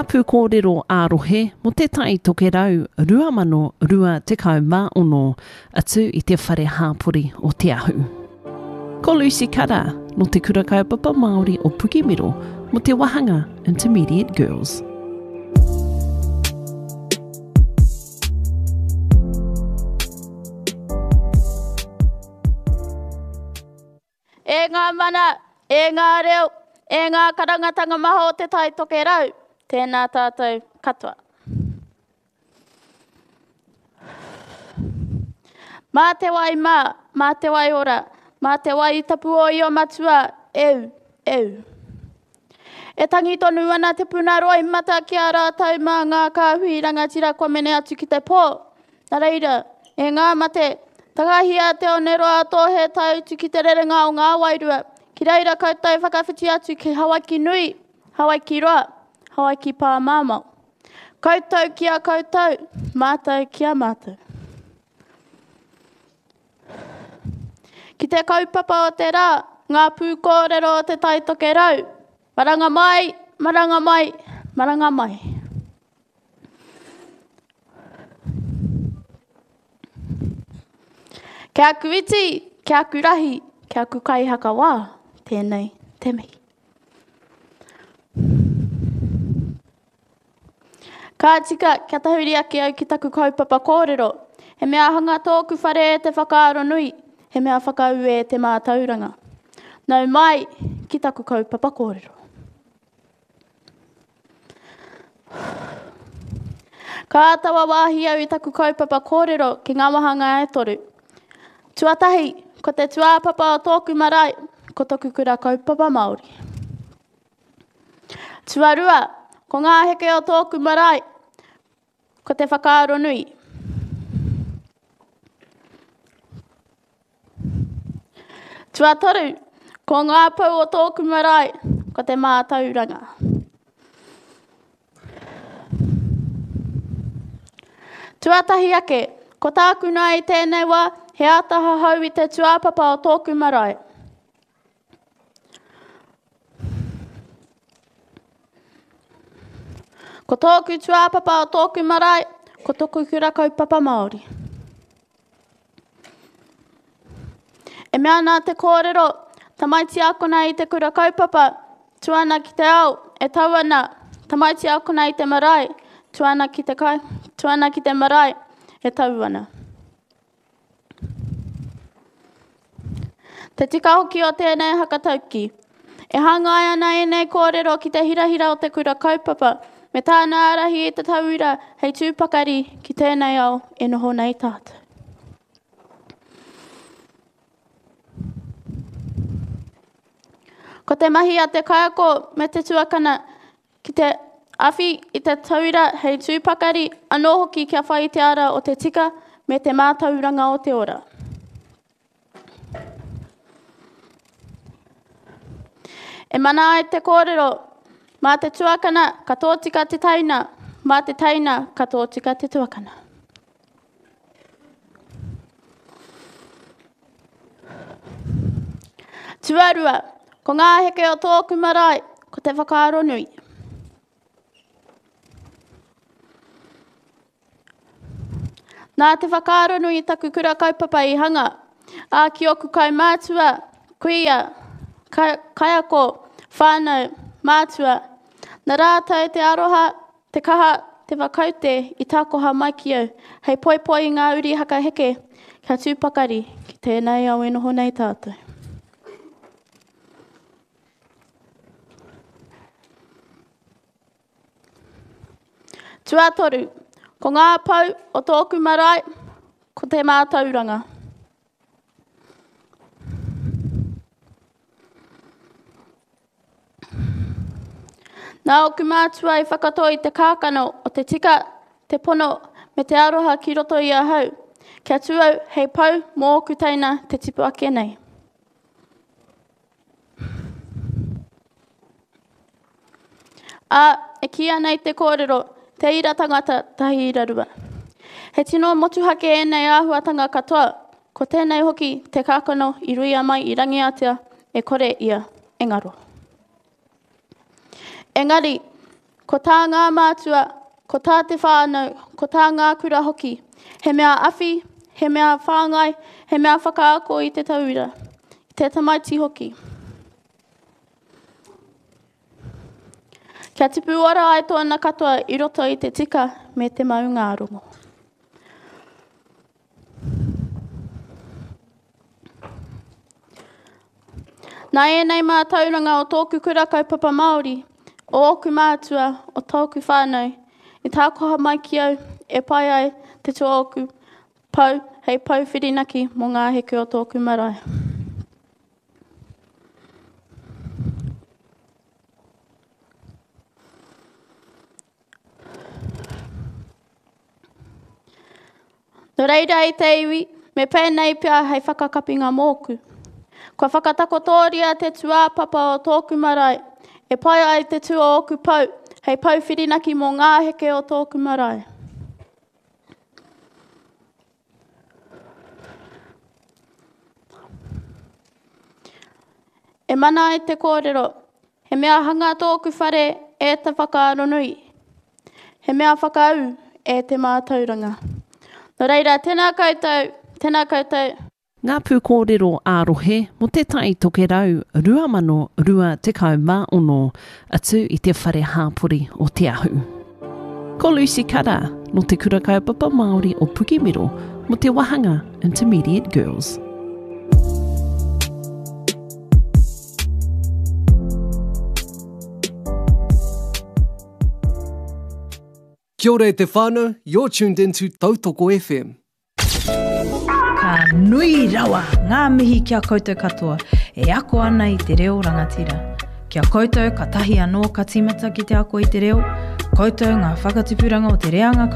Ngā pūkōrero ā-rohe mō Te Tai Tokerau 2026, atu i te Whare Hāpori o Te Ahu. Ko Lucy Kara, nō Te Kura Kaupapa Māori o Pukemiro, mō te wāhanga Intermediate Girls. E ngā mana, e ngā reo, e ngā karangatanga maha o Te Tai Tokerau, tēnā tātou katoa. Mā te wai mā, mā te wai ora, mā te wai tapu o Io Matua, eu, eu. E tangi tonu ana te puna roimata ki a rātou mā ngā kāhui rangatira kua mene atu ki te pō. Nā reira, e ngā mate, takahia te oneroa a Tōhe tae utu ki te rerenga o ngā wairua, ki reira koutou whakawhiti atu ki Hawaiki nui, Hawaiki roa, Hawaiki pāmamao. Koutou ki a koutou, mātou ki a mātou. Ki te kaupapa o te rā, ngā pūkōrero o Te Tai Tokerau, maranga mai, maranga mai, maranga mai. Ki aku iti, ki aku rahi, ki aku kaihakawā, tēnei te mihi. Ka tika kia tahuri ake au ki taku kaupapa kōrero. He mea hanga tōku whare e te whakaaro nui, he mea whakaū e te mātauranga. Nau mai ki taku kaupapa kōrero. Ka āta wāwāhi au i taku kaupapa kōrero ki ngā wāhanga e toru. Tuatahi, ko te tūāpapa o tōku marae, ko toku kura kaupapa Māori. Tuarua, ko ngā heke o tōku marae, ko te whakaaro nui. Tuatoru, ko ngā pou o tōku marae, ko te mātauranga. Tuatahi ake, ko tāku noa i tēnei wā, he āta hahau i te tūāpapa o tōku marae. Ko tōku tūāpapa o tōku marae, ko toku kura kaupapa Māori. E mea ana te kōrero, tamaiti akona i te kura kaupapa, tu ana ki te ao, e tau ana, tamaiti akona i te marae, tu ana ki te, kai, tu ana ki te marae, e tau ana. Te tika hoki o tēnei hakatauki. E hāngai ana ēnei kōrero ki te hirahira o te kura kaupapa me tāna ārahi i te tauira hei tū pakari ki tēnei ao e noho nei tātou. Ko te mahi a te kaiako me te tuakana Ki te awhi i te tauira hei tū pakari, anō hoki kia whai i te ara o te tika me te mātauranga o te ora. E mana ai te kōrero, mā te tuakana ka tōtika te teina, mā te teina ka tōtika te tuakana. Tuarua, ko ngā heke o tōku marae, ko te whakaaro nui. Nā te whakaaro nui taku kura kaupapa i hanga, ā, ki ōku kaumātua, kuia, kaiako, whānau, mātua. Nā rātou te aroha, Te kaha, te whakaute i takoha mai ki au, hei poipoi i ngā uri hakaheke kia tū pakari ki tēnei ao e noho nei tātou. Tuatoru, ko ngā pou o tōku marae, ko te mātauranga. Nā ōku mātua i whakatō i te kākano o te tika, te pono, me te aroha ki roto i ahau, kia tū au hei pou mō ōku teina te tipu ake nei. Ā, e kīia nei te kōrero, te ira tangata, tahi ira rua. He tino motuhake ēnei āhuatanga katoa, ko tēnei hoki te kākano i ruia mai i Rangiātea e kore ia e ngaro. Engari, Ko tā ngā mātua, ko tā te whānau, ko tā ngā kura hoki, he mea awhi, he mea whāngai, he mea whakaako i te tauira, i te tamaiti hoki. Kia tipu ora ai tōna katoa i roto i te tika me te maungārongo. Nā ēnei mātauranga o tōku kura kaupapa Māori, o ōku mātua, o tōku whānau, i tākoha mai ki au e pai ai te tū o ōku pou hei pou whirinaki mō ngā heke o tōku marae. Nō reira e te iwi, me pēnei pea hei whakakapinga mōku. Kua whakatakotoria te tūāpapa o tōku marae, e pai ai te tū o ōku pou, hei pou whirinaki mō ngā heke o tōku marae. E mana ai te kōrero, He mea hanga tōku whare e te whakaaro nui, he mea whakaū e te mātauranga. Nō reira, tēnā koutou, tēnā koutou. Ngā pūkōrero ā-rohe mō Te Tai Tokerau 2026, atu i te Whare Hāpori o Te Ahu. Ko Lucy Kara, nō Te Kura Kaupapa Māori o Pukemiro, mō te wāhanga Intermediate Girls. Kia ora e te whānau, you're tuned in to Tautoko FM. Ka nui rawa ngā mihi ki a koutou katoa e ako ana i te reo rangatira. Ki a koutou katahi anō ka tīmata ki te ako i te reo, koutou ngā whakatipuranga o te reanga.